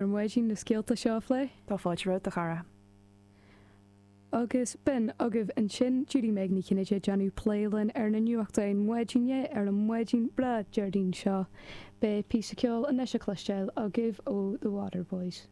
Ar maidin na scéalta seo a phlé. Tá fáilte romhat, a chara. Agus b'in agaibh ansin Judy Meg Ní Chinnéide ag déanamh plé linn ar na nuachtáin maidine ar an maidin breá Déardaoin seo. Beidh píosa ceoil anois a chloisteáil agaibh ó The Waterboys.